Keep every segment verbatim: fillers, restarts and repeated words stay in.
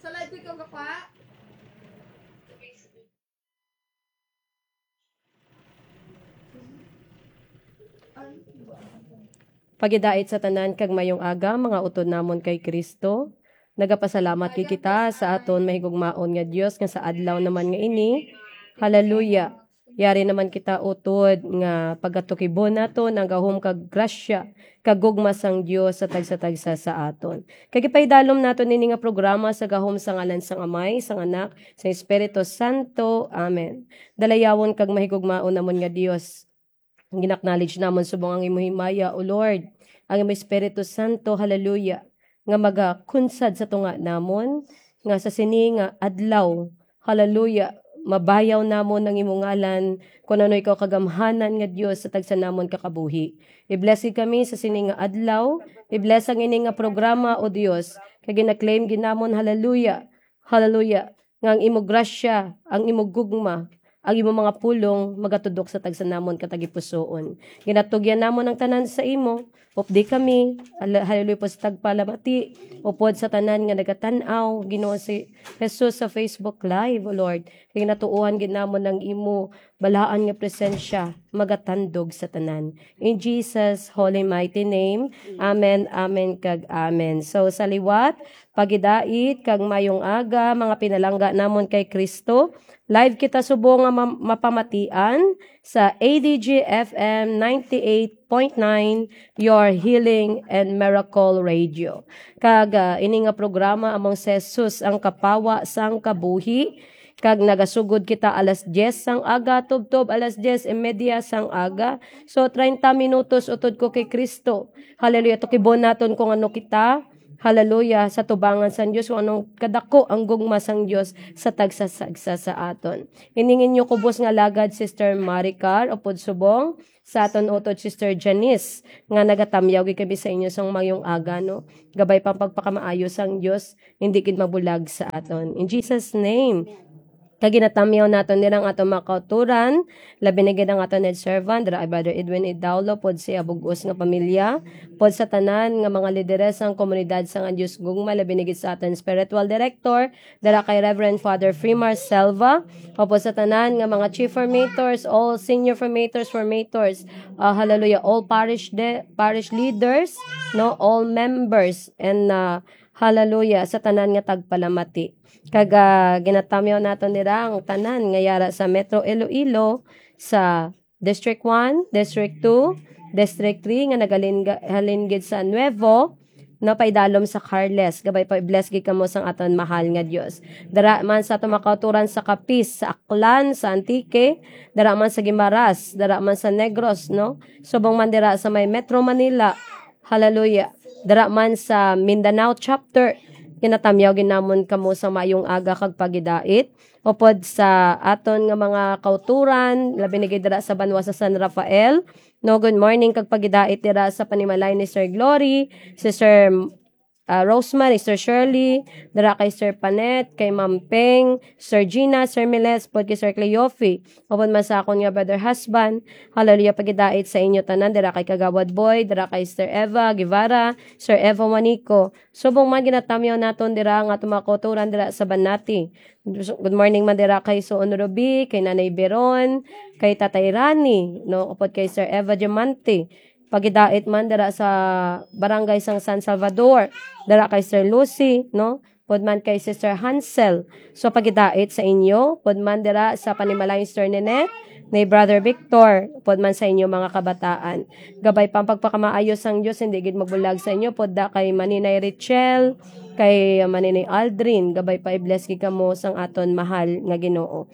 Sa live ko ikaw gapa? Pagidait sa tanan kag mayong aga, mga utod namon kay Kristo. Nagapasalamat gid kita sa aton mahigugmaon nga Dios nga sa adlaw naman nga ini. Hallelujah. Yari naman kita utod nga pagatukibon naton ang gahom kag grasya kag gugma sang Dios sa tagsa-tagsa sa aton. Kag ipaidalom naton ini nga programa sa gahom sa ngalan sang Amay, sang Anak, sang Espiritu Santo. Amen. Dalayawon kag mahigugmaon namon nga Dios, gin-acknowledge namon subong ang imo himaya, O Lord, ang imo Espiritu Santo, hallelujah, nga magakunsad sa tunga namon, nga sa sini nga adlaw, hallelujah, mabayaw namon ang imo ngalan, kun ano ikaw kagamhanan nga Dios sa tagsa namon ka kabuhi. I-bless gid kami sa sini nga adlaw, i-bless ang ini nga programa, O Dios, kay gina-claim gid namon, hallelujah, hallelujah, nga ang imo grasya, ang imo gugma, ang imo mga pulong magatudok sa tagsa namon ka tagipusoon. Ginatugyan namon ang tanan sa imo. Updi kami, hal-, hallelujah, po sa tagpalamati, upod sa tanan nga nagatan-aw, Ginoo si Jesus sa Facebook Live, O Lord. Kay ginatuohan gid namon ang imo balaan nga presensya magatandog sa tanan. In Jesus' holy mighty name, amen, amen, kag amen. So, sa liwat, pagidait, kag mayong aga, mga pinalangga namon kay Kristo. Live kita subong nga ma-, mapamatian sa A D G F M ninety-eight point nine, Your Healing and Miracle Radio. Kag, ah, ini nga programa among si Jesus ang kapawa sang kabuhi. Kag nagasugod kita alas diyes sang aga, tubtob alas diyes y media sang aga. So, treinta minutos utod ko kay Kristo. Hallelujah. Tukibon naton kung ano kita. Hallelujah. Sa tubangan sang Dios, kung anong kadako ang gugma sang Dios sa tagsa-tagsa sa aton. Ining inyo kubos nga lagad, Sister Maricar, upod subong sa aton utod, Sister Janice, nga nagatamyaw gid kami sa inyo sang mayong aga, no? Gabay pa ang pagpakamaayo sang Dios, hindi gid mabulag sa aton. In Jesus' name. Kag ginatamyaw naton nila ang aton mga kauturan, labi na gid ang aton head servant, dira kay Brother Edwin Idaulo, pod sa iya bug-os nga pamilya, pod sa tanan nga mga lideres sang komunidad sang Dios Gugma, labi na gid sa aton spiritual director, dira kay Reverend Father Freemar Selva, upod sa tanan nga mga chief formators, all senior formators, formators, ah, hallelujah, all parish de-, parish leaders, no, all members, and, ah, hallelujah, sa tanan nga tagpalamati. Kag, ah, ginatamyaw naton dira ang tanan nga yara sa Metro Iloilo, sa District one, District two, District three nga nagahalin-, halin gid sa Nuevo, no, paidalom sa Carles. Gabay pa, i-bless gid kamo sang aton mahal nga Dios. Dira man sa aton mga kauturan sa Capiz, sa Aklan, sa Antique, dira man sa Guimaras, dira man sa Negros, no? Subong man dira sa may Metro Manila, Hallelujah. Dira man sa Mindanao chapter, ginatamyaw gid namon kamo sa mayong aga kag pagidait. Upod sa aton nga mga kauturan, labi na gid dira sa banwa sa San Rafael. No, good morning kag pagidait dira sa panimalay ni Sir Glory, si Sir, ah, Rosemary, Sir Shirley, dira kay Sir Panet, kay Ma'am Peng, Sir Gina, Sir Miles, pod kay Sir Cleofe. Upod man sa akon nga brother husband, hallelujah, pagidait sa inyo tanan, dira kay Kagawad Boy, dira kay Sister Eva Guevara, Sir Eva Juanico. Subong man ginatamyaw naton dira ang aton mga kauturan dira sa Banati. Good morning man dira kay Suon Ruby, kay Nanay Beron, kay Tatay Rani, no, upod kay Sir Eva Diamante. Pagidait man dira sa barangay sang San Salvador, dira kay Sir Lucy, no? Pod man kay Sister Hansel. So, pagidait sa inyo, pod man dira sa panimalay ni Sister Ninette, ni Brother Victor, pod man sa inyo mga kabataan. Gabay pa ang pagpakamaayo sang Dios, hindi gid magbulag sa inyo, pod da kay Maninay Richel, kay Maninay Aldrin, gabay pa i-bless gid kamo sang aton mahal nga Ginoo.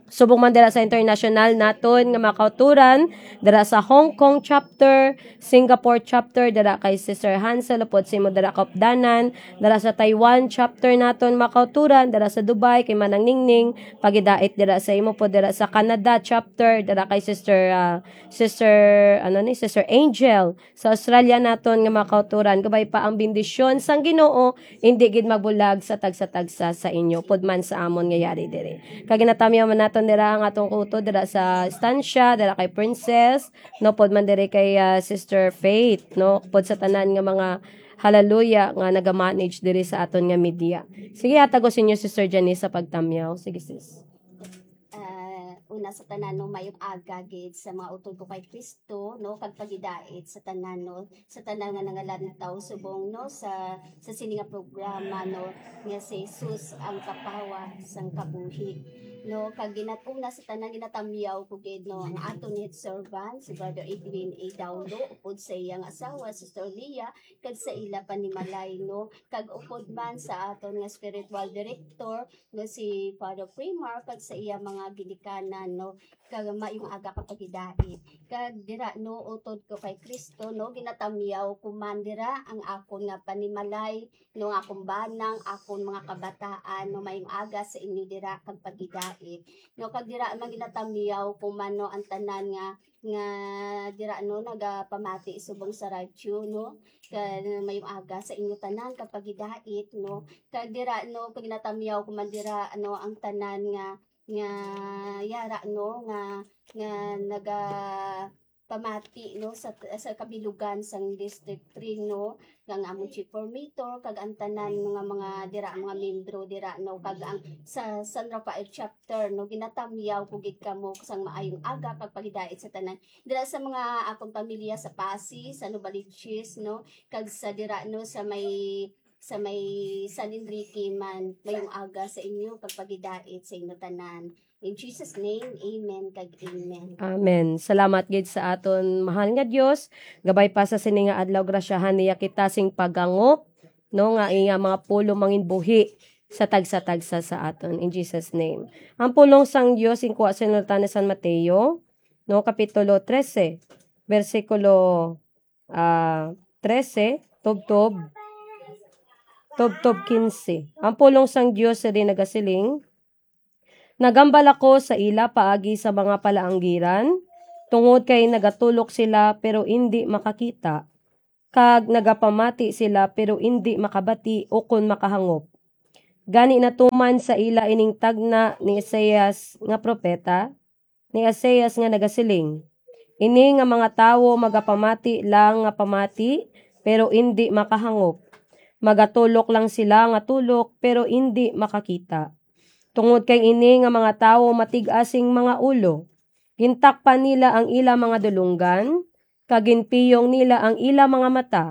Subong man dira sa international naton nga mga kauturan, dira sa Hong Kong chapter, Singapore chapter, dira kay Sister Hansel, upod sa imo dira kaupdanan, dira sa Taiwan chapter naton mga kauturan, dira sa Dubai kay Manang Ningning, pagidait dira sa imo pod dira sa Canada chapter, dira kay Sister, ah, Sister, ano ni, Sister Angel, sa Australia naton nga mga kauturan, gabay pa ang bendisyon sang Ginoo, hindi gid magbulag sa tagsa-tagsa sa inyo, pod man sa amon nga yari diri. Kag ginatamyaw man naton dira ang atong utod dira sa estansya, dira kay Princess, no, pod man diri kay, ah, Sister Faith, no, pod sa tanan nga mga, Hallelujah, nga naga-manage diri sa aton nga media. Sige, hatago sa inyo si Sir Janice sa pagtamyaw. Sige, sis. Ah, una sa tanan, no, mayong aga gid sa mga utod ko kay Kristo, no, kag pagidait sa tanan, no, sa tanan nga nangalantaw subong, no, sa, sa sini nga programa, no, nga si Jesus ang kapawa sang kabuhi, no, kag ginat-, una sa tanan ginatamyaw ko gid, no, ang aton head servant, si Brother Edwin A. Daulo, upod sa iyang asawa, Sister Leah, kag sa ila panimalay, no, kag upod man sa aton nga spiritual director, no, si Father Primar, kag sa iya mga ginikanan, no, kag mayong aga kag pagidait. Kag dira, no, utod ko kay Kristo, no, ginatamyaw ko man dira ang akon nga panimalay, no, nga akon banang, akon mga kabataan, no, mayong aga sa inyo dira kag pagidait. No, kag dira man ginatamyaw ko man, no, ang tanan nga, nga dira, no, nagapamati subong sa radyo, no, kag mayong aga sa inyo tanan kag pagidait, no, kag dira, no, kag ginatamyaw ko man dira, ano, ang tanan nga, nga yara, no, nga, nga nagapamati, no, sa, sa kabilugan sang District three, no, kag ang amon chief formator, kag ang tanan nga mga dira, mga membro dira, no, kag ang sa San Rafael Chapter, no, ginatamyaw ko gid kamo sang maayong aga kag pagidait sa tanan. Dira sa mga akong pamilya sa Passi, sa Novaliches, no, kag sa dira, no, sa may, sa may San Enrique man, mayong aga sa inyo, kag pagidait sa inyo tanan. In Jesus' name, amen kag amen. Amen. Salamat gid sa aton mahal nga Dios. Gabay pa sa sini nga adlaw, grasyahan niya kita sing paghangop, no, nga iya mga pulong mangin buhi sa tagsa-tagsa sa aton. In Jesus' name. Ang pulong sang Dios inkuha sa Nulatan ni San Mateo, no, Kapitulo trese, bersikulo, ah, trese, tubtob, tubtob kinse. Ang pulong sang Dios diri nagasiling, "Nagambal ako sa ila paagi sa mga palaanggiran, tungod kay nagatulok sila pero indi makakita, kag nagapamati sila pero indi makabati ukon makahangop. Gani natuman sa ila ining tagna ni Isaias nga propeta, ni Isaias nga nagasiling, 'Ini nga mga tawo magapamati lang nga pamati, pero indi makahangop. Magatulok lang sila nga tulok, pero indi makakita. Tungod kay ini nga mga tawo matig-a sing mga ulo, gintakpan nila ang ila mga dulonggan, kag ginpiyong nila ang ila mga mata.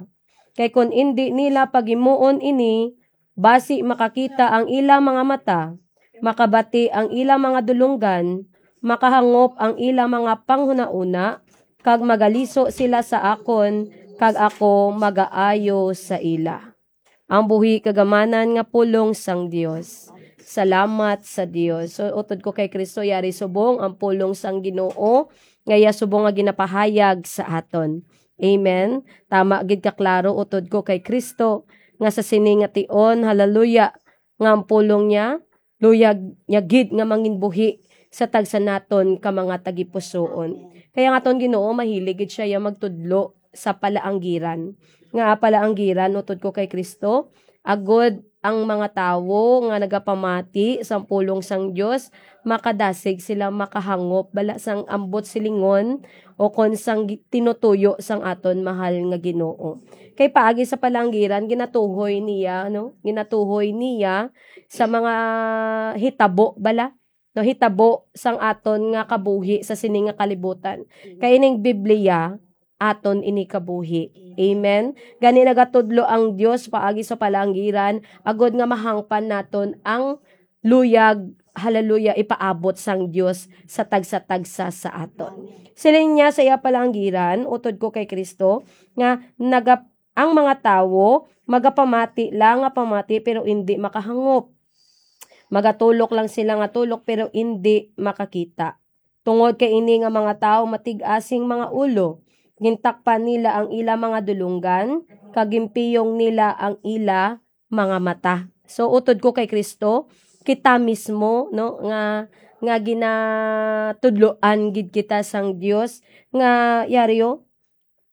Kay kon indi nila pagimuon ini, basi makakita ang ila mga mata, makabati ang ila mga dulonggan, makahangop ang ila mga panghunahuna, kag magaliso sila sa akon, kag ako magaayo sa ila.'" Ang buhi kag amanan nga pulong sang Dios. Salamat sa Dios. So, utod ko kay Kristo, yari subong ang pulong sang Ginoo, nga iya subong nga ginapahayag sa aton. Amen. Tama gid ka klaro, utod ko kay Kristo, nga sa sini nga tion, hallelujah, nga ang pulong niya, luyag niya gid nga mangin buhi sa tagsa naton ka mga tagipusoon. Kaya nga aton Ginoo, mahilig gid siya ya magtudlo sa palaanggiran. Nga palaanggiran, utod ko kay Kristo, agod ang mga tawo nga nagapamati sang pulong sang Dios, makadasig sila makahangop bala sang ambot silingon o kon sang gi-, tinutuyo sang aton mahal nga Ginoo. Kay paagi sa palaanggiran, ginatuhoy niya, no? Ginatuhoy niya sa mga hitabo bala, no? Hitabo sang aton nga kabuhi sa sini nga kalibutan. Kay ining Biblia, aton ini kabuhi. Amen. Gani nagatudlo ang Dios paagi sa palaanggiran, agod nga mahangpan naton ang luyag, hallelujah, ipaabot sang Dios sa tagsa-tagsa sa aton. Siling niya sa iya palaanggiran, utod ko kay Kristo, nga naga-, ang mga tawo magapamati lang nga pamati, pero indi makahangop. Magatulok lang sila nga tulok, pero indi makakita. Tungod kay ini nga mga tawo matig-a sing mga ulo, gintakpan nila ang ila mga dulonggan, kag ginpiyong nila ang ila mga mata. So, utod ko kay Kristo, kita mismo, no, nga, nga ginatudloan gid kita sang Dios, nga yari, o,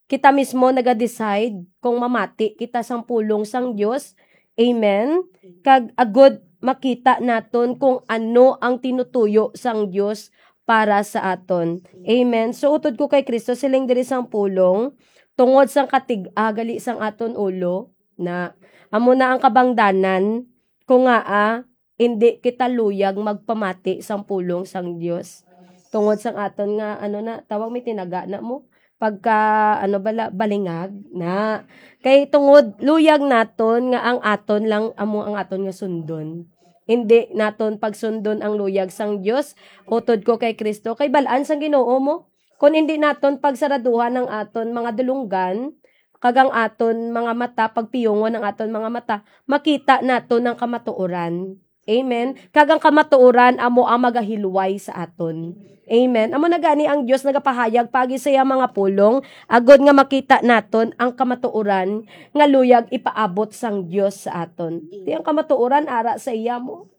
kita mismo naga-decide kung mamati kita sang pulong sang Dios. Amen. Kag agod makita naton kung ano ang tinutuyo sang Dios para sa aton. Amen. So, utod ko kay Kristo, siling diri sang pulong, tungod sang katig-a gali sang aton ulo, Na, amo na ang kabangdanan, kung ngaa, indi kita luyag magpamati sang pulong sang Dios. Tungod sang aton nga, ano na, tawag may tinaga na mo, pagka, ano bala, balingag na. Kay tungod luyag naton nga ang aton lang amo ang aton nga sundon. Indi naton pagsundon ang luyag sang Dios, utod ko kay Cristo, kay bal-an sang Ginoo mo. Kon indi naton pagsaraduhan ang aton mga dulonggan, kag ang aton mga mata, pagpiyungon ang aton mga mata, makita naton ang kamatuoran. Amen. Kag ang kamatuoran amo ang magahilway sa aton. Amen. Amo na gani ang Dios nagapahayag paagi sa iya mga pulong, agod nga makita naton ang kamatuoran nga luyag ipaabot sang Dios sa aton. Di ang kamatuoran ara sa iya mo.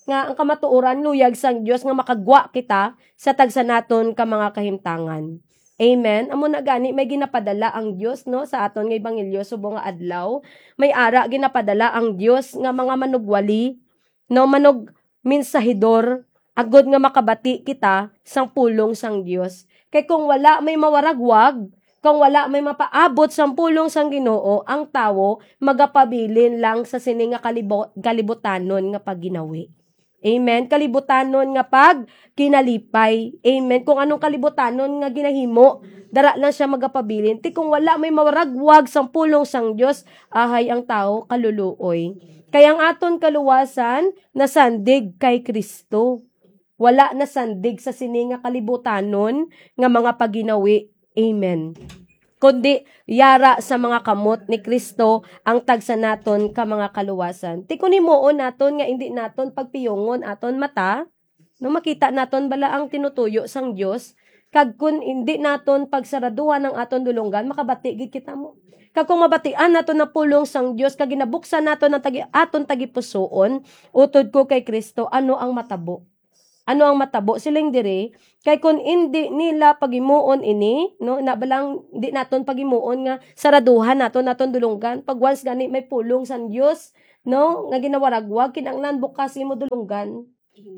Nga ang kamatuoran luyag sang Dios nga makagwa kita sa tagsa naton ka mga kahimtangan. Amen. Amo na gani may ginapadala ang Dios, no, sa aton nga ebanghelyo subong nga adlaw. May ara ginapadala ang Dios nga mga manugwali, no, manug mensahedor, agod nga makabati kita sang pulong sang Dios. Kay kung wala may mawaragwag, kung wala may mapaabot sang pulong sang Ginoo, ang tawo magapabilin lang sa sini nga kalibo-, kalibutanon nga pagginawi. Amen. Kalibutanon nga pagkinalipay. Amen. Kung anong kalibutanon nga ginahimo, dara lang siya magapabilin. Ti kung wala may mawaragwag sang pulong sang Dios, ahay ang tawo kaluluoy. Kay ang aton kaluwasan nasandig kay Cristo. Wala nasandig sa sini nga kalibutanon nga mga pagginawi. Amen. Kundi yara sa mga kamot ni Cristo ang tagsa naton ka mga kaluwasan. Ti kun himuon naton nga indi naton pagpiyungon aton mata, no, makita naton bala ang tinutuyo sang Dios, kag kun indi naton pagsaraduhan ang aton dulonggan, makabati gid kita mo. Kag kung mabatian naton ang pulong sang Dios kag ginabuksan naton ang tagi-, aton tagipusoon, utod ko kay Cristo, ano ang matabo? Ano ang matabo? Siling diri, kay kun indi nila pagimuon ini, no, na balang di naton pagimuon nga saraduhan naton, naton dulonggan. Pag once gani may pulong sang Dios, no, nga ginawaragwag, kinahanglan bukas imo dulonggan.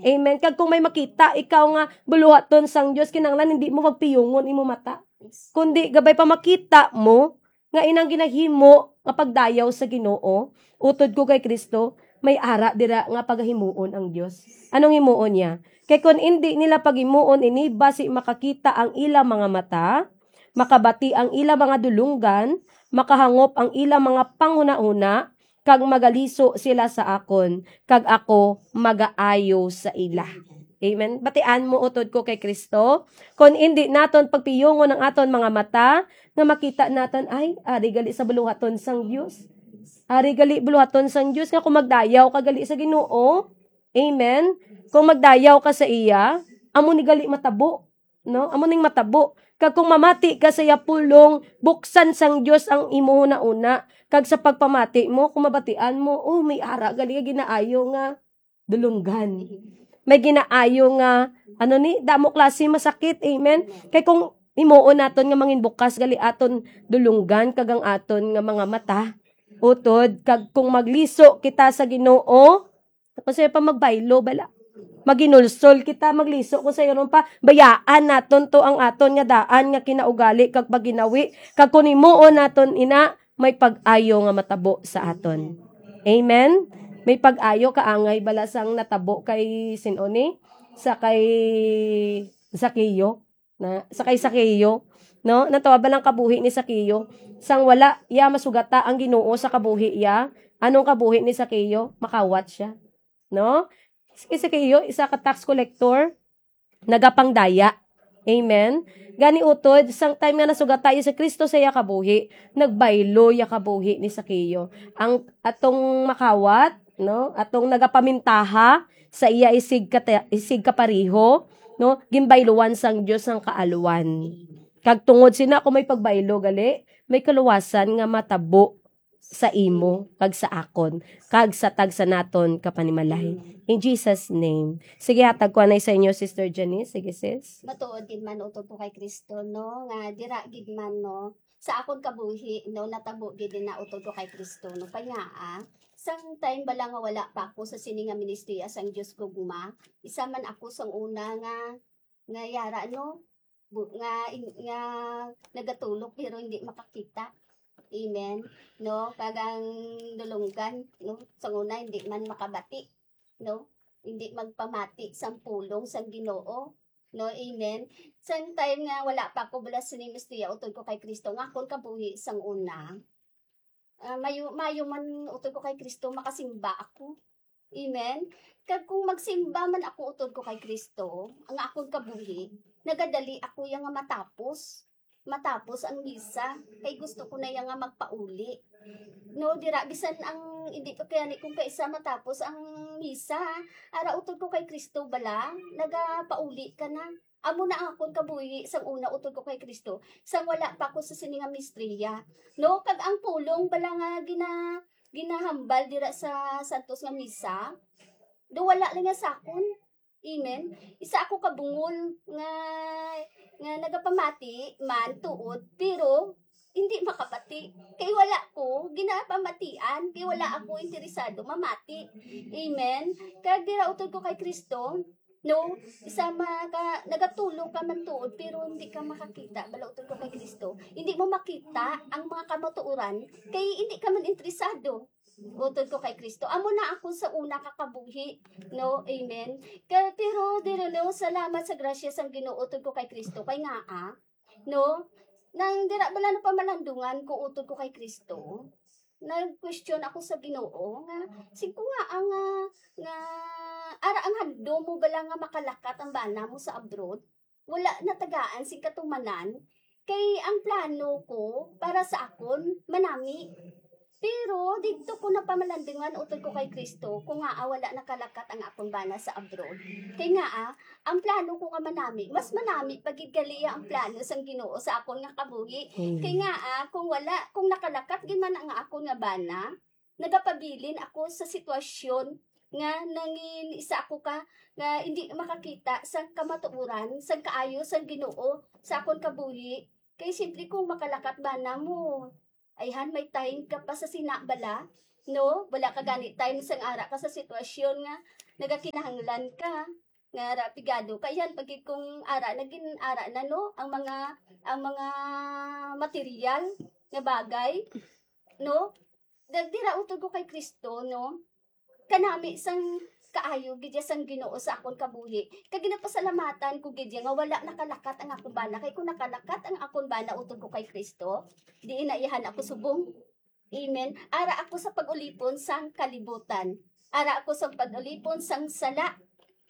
Amen. Kag kung may makita ikaw nga buluhaton sang Dios, kinahanglan hindi mo magpiyungon imo mata. Kundi gabay pa makita mo nga inang ginahimo nga pagdayaw sa Ginoo, utod ko kay Cristo, may ara dira nga pagahimuon ang Dios. Anong himuon niya? Kay kun indi nila paghimuon ini, basi makakita ang ila mga mata, makabati ang ila mga dulonggan, makahangop ang ila mga panghunahuna, kag magaliso sila sa akon, kag ako magaayo sa ila. Amen. Batian mo, utod ko kay Cristo. Kon indi naton pagpiyungon ang aton mga mata, nga makita naton, ay, ari gali sa buluhaton sang Dios. Ari gali buluhaton sang Dios, nga kung magdayaw ka gali sa Ginoo, amen, kung magdayaw ka sa iya, amo ni gali matabo, no? Amo ning matabo. Kag kung mamati ka sa iya pulong, buksan sang Dios ang imo hunahuna. Kag sa pagpamati mo, kung mabatian mo, oh, may ara gali nga ginaayo nga dulunggan. May ginaayo nga, ano ni, damo klase masakit. Amen. Kay kung himuon naton nga mangin bukas gali aton dulunggan kag ang aton nga mga mata, utod, kag kung magliso kita sa Ginoo, kung sayo pa magbaylo, bala. Maginulsol kita, magliso. Kung sayo ron pa, bayaan naton to ang aton nga daan nga kinaugali kag pagginawi. Kag kung himuon naton ina, may pag-ayo nga matabo sa aton. Amen? May pag-ayo, kaangay bala sang natabo kay sin-o ni? Sa kay Zaqueo. Na, sa kay Zaqueo, no? Natawa ba lang kabuhi ni Zaqueo? Sang wala iya masugata ang Ginoo sa kabuhi iya, anong kabuhi ni Zaqueo? Makawat siya, no? Si Zaqueo, isa ka tax collector, nagapangdaya. Amen? Gani utod, sang time nga nasugata iya si Cristo sa iya kabuhi, nagbaylo iya kabuhi ni Zaqueo. Ang atong makawat, no? Atong nagapamintaha sa iya isig kata-, isig kapareho, no? Ginbayluan sang Dios ang kaalwan. Kag tungod sina, kung may pagbaylo gali, may kaluwasan nga matabo sa imo, kag sa akon, kag sa tagsa naton ka panimalay. In Jesus' name. Sige, hatag ko anay sa inyo, Sister Janice. Sige, sis. Matuod gid man utod ko kay Kristo, no, nga dira gid man, no, sa akon kabuhi, no, natabo gid na utod ko kay Kristo, no. Kaya, ah, sang time bala nga wala pa ako sa sini nga ministry sang Dios gugma, isa man ako sang una nga, nga yara, no, bu-, nga in-, nga nagatulok pero hindi makakita. Amen. No, kag ang dulunggan, no, sang una hindi man makabati, no, hindi magpamati sang pulong sang Ginoo, no. Amen. Sang time nga wala pa ako bala sini ministriya, utod ko kay Kristo, nga akon kabuhi sang una, ah, mayo, mayo man utod ko kay Kristo, makasimba ako. Amen. Kag kung magsimba man ako utod ko kay Kristo, ang akon kabuhi, nagadali ako ya nga matapos. Matapos ang misa, kay gusto ko na ya nga magpauli. No, dira, bisan ang, hindi pa kaya ni kung kaisa matapos ang misa, ara utod ko kay Kristo bala, nagapauli ka na. Amo na ang akon kabuhi sang una utod ko kay Kristo, sang wala pa ako sa sini nga ministriya. No, kag ang pulong bala nga gina-, ginahambal dira sa Santos nga Misa, do wala lang nga sakon. Amen. Isa ako ka bungol nga, nga nagapamati man tuod, pero hindi makabati. Kay wala ko ginapamatian, kay wala ako interesado mamati. Amen. Kag dira utod ko kay Kristo, no, isa maka, nagatulo ka man tuod, pero hindi ka makakita, bala utod ko kay Kristo. Hindi mo makita ang mga kamatuoran, kay hindi ka man interesado. Utod ko kay Kristo. Amo na ako sa una ka kabuhi, no? Amen. Kay, pero diri, no, salamat sa grasya sang Ginoo, utod ko kay Kristo. Kay nga, ah, no? Nang dira bala na pamalandungan ko utod ko kay Kristo, nag-question ako sa Ginoo nga, "Sing ko nga ang, ah, nga ara ang handom mo bala nga makalakat ang bana mo sa abroad? Wala natagaan sing katumanan, kay ang plano ko para sa akon manami." Pero didto ko napamalandungan utod ko kay Kristo, kung ngaa wala nakalakat ang akon bana sa abroad. Kay ngaa, ang plano ko nga manami, mas manami pa gid gali ang plano sang Ginoo sa akon nga kabuhi. Mm. Kay ngaa, kung wala, kung nakalakat gid man ang akon nga bana, nagapabilin ako sa sitwasyon nga nangin isa ako ka nga hindi makakita sang kamatuoran, sang kaayo sang Ginoo sa akon kabuhi. Kay siyempre, kung makalakat bana mo, ayhan, may time ka pa sa sina bala, no? Wala ka gani time sang ara ka sa sitwasyon nga nagakinahanglan ka, nga ara pigado ka. Ayhan, pag kung ara na gin-, ara na, no, ang mga, ang mga material nga bagay, no? Dira utod ko kay Kristo, no? Kanami sang kaayo gid ya sang Ginoo sa akon kabuhi. Kag ginapasalamatan ko gid ya nga wala nakalakat ang akon bana. Kay kung nakalakat ang akon bana utod ko kay Kristo, diin na iyahan ako subong. Amen. Ara ako sa pag-ulipon sang kalibutan. Ara ako sa pag-ulipon sang sala.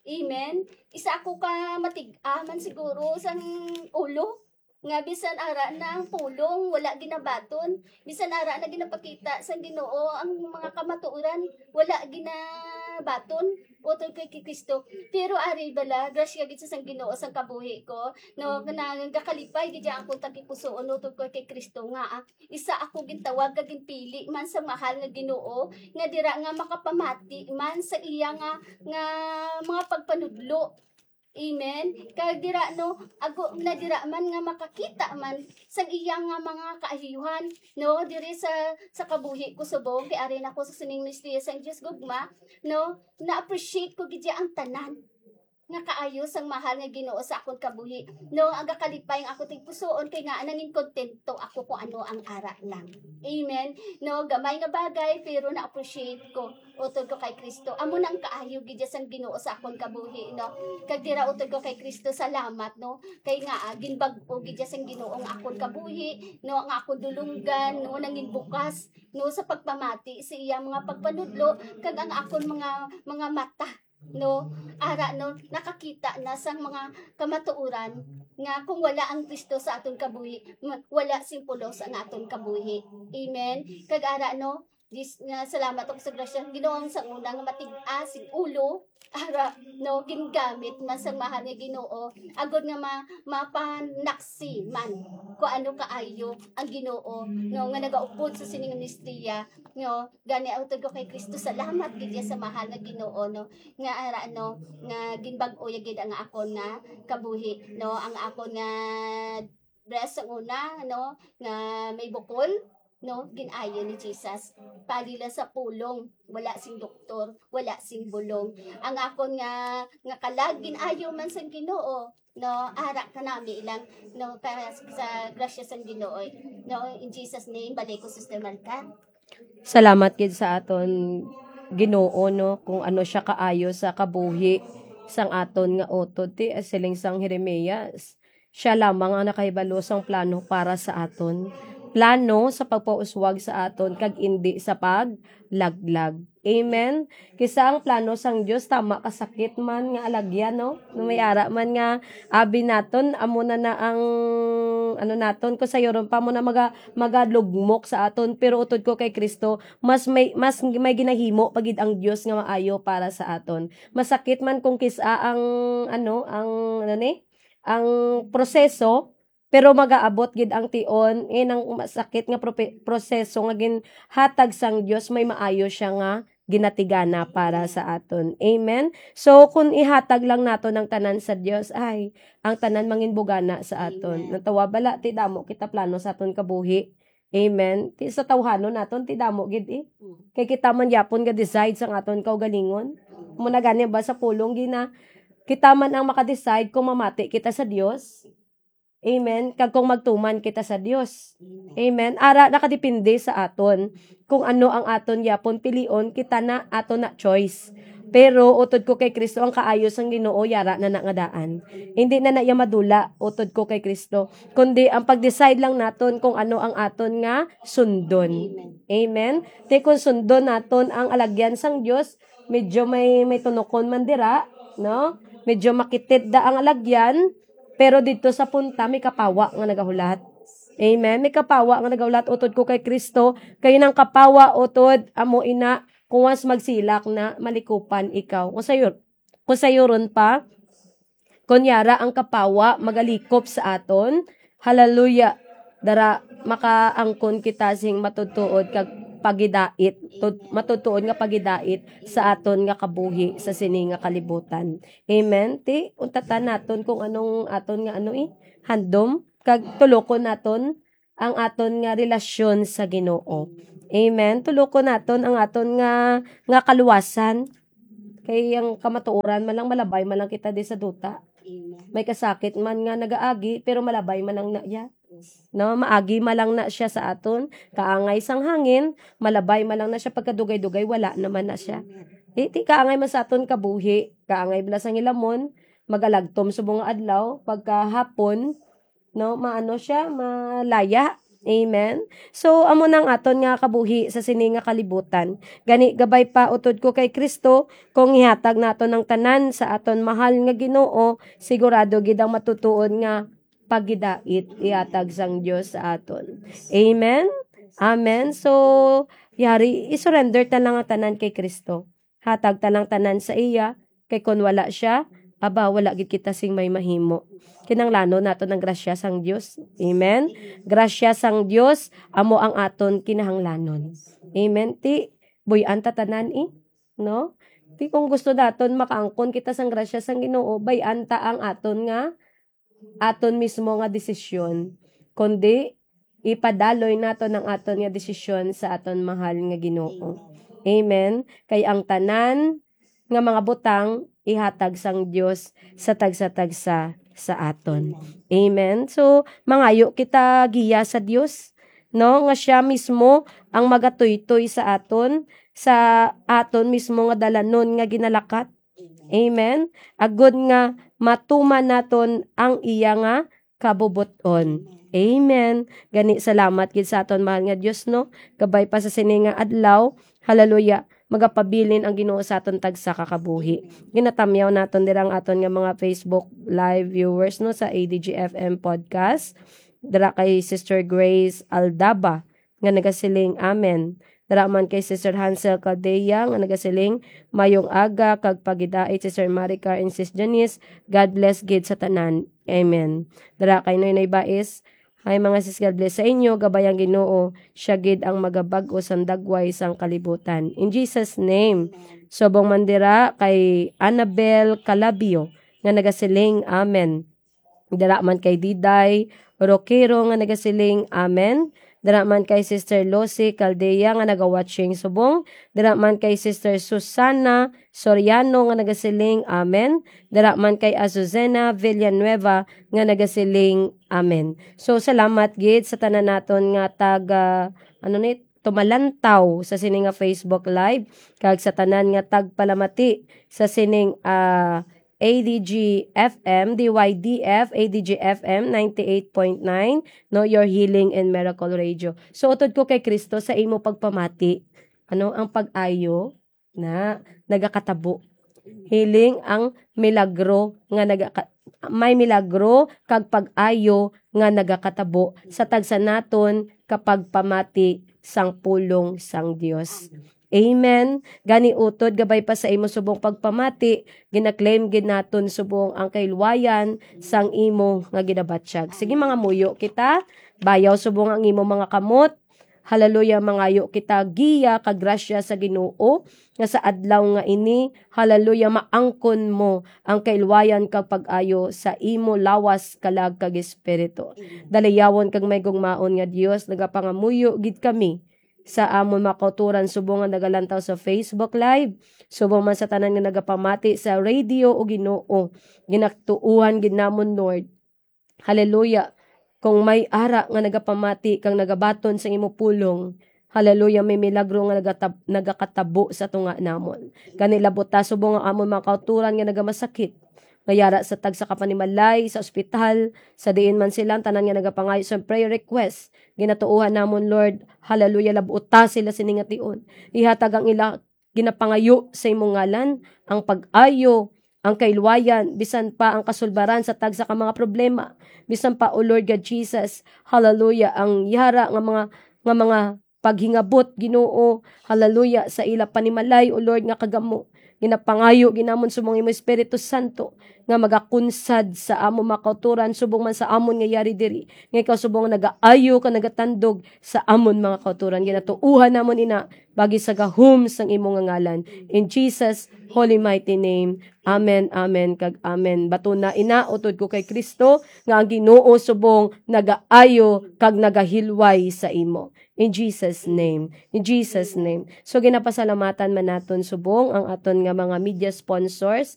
Amen. Isa ako ka matig-a man siguro sang ulo, nga bisan ara na ang pulong, wala ginabaton. Bisan ara na ginapakita sang Ginoo ang mga kamatuoran, wala ginabaton utod kay Kristo. Pero ari bala, grasya gid sa sang Ginoo sang kabuhi ko, no, nga nagakalipay gid ang akong tagipusoon utod ko kay Kristo, nga, ah, isa ako gintawag kag ginpili man sa mahal nga Ginoo, nga dira nga makapamati man sa iya nga, nga mga pagpanudlo. Amen. Kag dira, no, ako na dira man nga makakita man sang iya nga mga kaayuhan, no, diri sa, sa kabuhi ko subong, kay ari na ko sa sining misteryo sang Dios gugma, no, na-appreciate ko gid ang tanan nga kaayo sang mahal nga Ginoo sa akon kabuhi, no, ang gakalipay ang ako tigpusoon, kay nga nangin kontento ako kung ano ang ara lang. Amen. No, gamay nga bagay, pero na-appreciate ko. Utod ko kay Kristo. Amo nang kaayo gid sang Ginoo sa akon kabuhi, no? Kag dira utod ko kay Kristo, salamat, no? Kay nga, ah, ginbag-o gid sang Ginoo ang akon kabuhi, no? Ang akon dulunggan, no? Nangin bukas, no? Sa pagpamati sa iya mga pagpanudlo, kag ang akon mga, mga mata, no? Ara, no? Nakakita na sang mga kamatuoran nga kung wala ang Kristo sa aton kabuhi, ma-, wala sing pulos ang aton kabuhi. Amen? Kag ara, no? Dis-, nga salamat ako sa grasya sa Ginoo, sa una nga matig-a sing ulo, ara, no, gingamit man sang mahal nga Ginoo, agod nga ma-, mapanaksi man kung ano kaayo ang Ginoo, no, nga nagaupod sa sining misteryo, no, gani utod ko kay Kristo, salamat gid ya sa mahal nga Ginoo, no, nga ara, no, nga ginbag-o ya gid ang akon nga kabuhi, no, ang akon nga breast sa una, no, nga may bukol, no, gin-ayo ni Jesus. Pali lang sa pulong, wala sing doktor, wala sing bulong. Ang akon nga, nga kalag, gin-ayo man sang Ginoo. No, ara ka nami lang, no, ka, sa grasya sang Ginoo. No, in Jesus' name, balik ko, Sister Martha. Salamat gid sa aton Ginoo, no, kung ano siya kaayo sa kabuhi sang aton nga utod. Ti, siling sang Jeremias, siya lamang ang nakahibalo sang plano para sa aton. Plano sa pagpauswag sa aton kag indi sa paglaglag. Amen. Kisa ang plano sang Dios tama kasakit man nga alagyan, no? No may ara man nga abi naton, amo na na ang ano naton, kung sayuron pa mo na maga, magalugmok sa aton, pero utod ko kay Kristo, mas may, mas may ginahimo pa gid ang Dios nga maayo para sa aton. Masakit man kung kisa ang ano, ang ano ni, ang proseso, pero magaabot gid ang tion, eh, nang masakit nga prope-, proseso nga ginhatag sang Dios, may maayo siya nga ginatigana para sa aton. Amen? So, kung ihatag lang nato ang tanan sa Dios, ay, ang tanan manginbugana sa aton. Amen. Natawa bala, ti damo kita plano sa aton kabuhi. Amen? Ti sa tawhanon naton, ti damo gid eh. Mm. Kay kita man yapon ga decide sang aton kaugalingon. Mm. Muna gani ba sa pulong gina, kita man ang makadecide kung mamati kita sa Dios. Amen. Kag kung magtuman kita sa Dios. Amen. Amen. Ara, nakadepende sa aton kung ano ang aton yapon pilion, kita na, aton na choice. Pero utod ko kay Kristo, ang kaayo sang Ginoo yara na na nga daan. Hindi na na iya madula utod ko kay Kristo, kundi ang pag-decide lang naton kung ano ang aton nga sundon. Amen. Amen. Ti kung sundon naton ang alagyan sang Dios, medyo may, may tunokon man dira, no? Medyo makitid da ang alagyan, pero didto sa punta may kapawa nga nagahulat. Amen. May kapawa nga nagahulat utod ko kay Kristo, kay ang kapawa utod amo ina, kung once magsilak na, malikupan ikaw. Kung sayo-, kung sayuron pa, kung yara ang kapawa magalikop sa aton, hallelujah, dara makaangkon kita sing matutuod kag pagidait, tud-, matutuod nga pagidait sa aton nga kabuhi sa sini nga kalibutan. Amen. Ti, untatan naton kung anong aton nga ano eh, handom, kag tulokon naton ang aton nga relasyon sa Ginoo. Amen. Tulokon naton ang aton nga, nga kaluwasan. Kay ang kamatuoran man lang, malabay man lang kita di sa duta. Amen. May kasakit man nga nagaagi, pero malabay man lang na iya. Yes. No, maagi man lang na siya sa aton. Kaangay sang hangin, malabay man lang na siya. Pagkadugay-dugay, wala naman na siya. Amen. Di, di kaangay man sa aton kabuhi, kaangay bala sang hilamon, magalagtom subong nga adlaw, pagkahapon, no, maano siya, malaya. Amen. So, amo nang aton nga kabuhi sa sini nga kalibutan. Gani, gabay pa utod ko kay Kristo, kung ihatag naton ang tanan sa aton mahal nga Ginoo, sigurado gid ang matutuod nga pagidait ihatag sang Dios sa aton. Amen. Amen. So, yari, i-surrender ta lang ang tanan kay Kristo. Hatag ta lang tanan sa iya, kay kon wala siya, aba, wala gid kita sing may mahimo. Kinahanglanon naton ang grasya sang Dios. Amen. Grasya sang Dios amo ang aton kinahanglanon. Amen. Ti, buy-an ta tanan, eh, no? Ti kung gusto naton makaangkon kita sang grasya sang Ginoo, bay-an ta ang aton nga aton mismo nga desisyon, kundi ipadaloy naton ang aton nga desisyon sa aton mahal nga Ginoo. Amen. Kay ang tanan nga mga butang ihatag sang Dios sa tagsa-tagsa sa aton. Amen. So, mangayo kita giya sa Dios, no, nga siya mismo ang magatuytoy sa aton, sa aton mismo nga dalanon nga ginalakat. Amen. Agod nga matuman naton ang iya nga kabubot-on. Amen. Gani, salamat gid sa aton mahal nga Dios, no? Gabay pa sa sini nga adlaw. Hallelujah. Magapabilin ang Ginoo sa aton tagsa ka kabuhi. Ginatamyaw naton dira ang aton nga mga Facebook Live viewers, no, sa A D G F M podcast. Dira kay Sister Grace Aldaba nga nagasiling, "Amen." Dira man kay Sister Hansel Caldea nga nagasiling, "Mayong aga kag pagidait, Sister Maricar and Sis Janice. God bless gid sa tanan. Amen." Dira kay Noynoy Bais, "Hi mga sis, God bless sa inyo. Gabay ang Ginoo. Siya gid ang magabag-o sang dagway sang kalibutan. In Jesus' name." Subong man dira kay Annabel Calabio nga nagasiling, "Amen." Dira man kay Diday Roquero nga nagasiling, "Amen." Dira man kay Sister Lucy Caldea nga naga-watching subong. Dira man kay Sister Susana Soriano nga nagasiling, "Amen." Dira man kay Azucena Villanueva nga nagasiling, "Amen." So, salamat gid sa tanan naton nga taga, ano ni, tumalantaw sa sini nga Facebook Live, kag sa tanan nga tagpalamati sa sining, ah, A D G F M, D Y D F, A D G F M ninety-eight point nine, no, your healing and miracle radio. So, utod ko kay Kristo sa imo pagpamati, ano, ang pag-ayo na nagakatabo. Healing ang milagro nga nagaka-, may milagro kag pag-ayo nga nagakatabo sa tagsa naton kapagpamati sang pulong sang Dios. Amen. Gani, utod gabay pa sa imo subong pagpamati, gina-claim gid naton subong ang kahilwayan sang imo nga ginabatyag. Sige, mangamuyo kita. Bayaw subong ang imo mga kamot. Hallelujah, mangayo kita giya kag grasya sa Ginoo, nga sa adlaw nga ini, hallelujah, maangkon mo ang kailwayan kag pag-ayo sa imo lawas, kalag, kag espiritu. Daliyawon kag may gugmaon nga Dios, nagapangamuyo gid kami sa amon mga kauturan subong nga nagalantaw sa Facebook Live, subong man sa tanan nga nagapamati sa radio, O Ginoo. Ginatuohan gid namon, Lord. Hallelujah. Kung may ara nga nagapamati kag nagabaton sa imo pulong, hallelujah, may milagro nga nagatab-, nagakatabo sa tunga namon. Gani, labuta subong ang amon mga kauturan nga nagamasakit, nga yara sa tagsa ka panimalay, sa ospital, sa diin man sila, ang tanan nga nagapangayo sa prayer request, ginatuohan namon, Lord, hallelujah, labuta sila sini nga tion. Ihatag ang ila ginapangayo sa imong ngalan, ang pag-ayo, ang kailwayan, bisan pa ang kasulbaran sa tagsa ka mga problema. Bisan pa, O Lord God Jesus, hallelujah, ang yara nga mga, nga mga paghingabot, Ginoo, hallelujah, sa ila panimalay, O Lord, nga kagamo. Ginapangayo gid namon subong imo Espiritu Santo nga magakunsad sa amon mga kauturan, subong man sa amon nga yari diri, nga ikaw subong nagaayo ka nagatandog sa amon mga kauturan. Ginatuohan namon ina bagi sa gahom sang imo nga ngalan. In Jesus' holy mighty name. Amen, amen, kag amen. Batuna ina, utod ko kay Kristo, nga ang Ginoo subong nagaayo kag nagahilway sa imo. In Jesus' name. In Jesus' name. So, ginapasalamatan man naton subong ang aton nga mga media sponsors,